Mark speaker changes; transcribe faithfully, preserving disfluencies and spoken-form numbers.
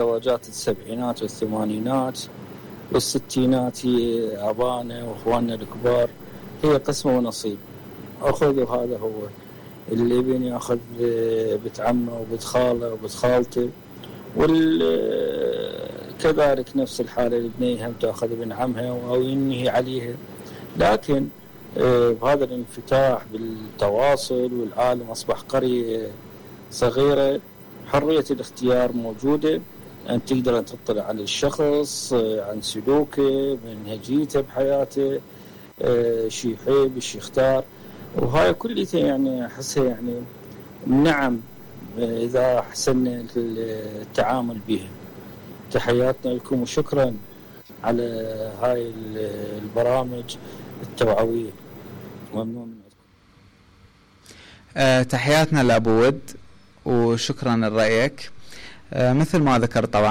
Speaker 1: زواجات السبعينات والثمانينات والستينات هي ابانا واخواننا الكبار هي قسمه ونصيب، اخذ وهذا هو. الابن ياخذ بنت عمه وبنت خاله وبنت خالته، وكذلك نفس الحاله البنيه هم تاخذ ابن عمها او ينهي عليها. لكن بهذا الانفتاح بالتواصل والعالم اصبح قريه صغيره، حريه الاختيار موجوده، أن تقدر أن تطلع على الشخص عن سلوكه منهجيته بحياته، شي يحب شي يختار، وهاي كلها يعني أحسها يعني نعم إذا أحسننا التعامل بها. تحياتنا لكم وشكرا على هاي البرامج التوعوية، ممنون منكم.
Speaker 2: أه تحياتنا لأبو ود وشكرا لرأيك. أه مثل ما ذكر طبعا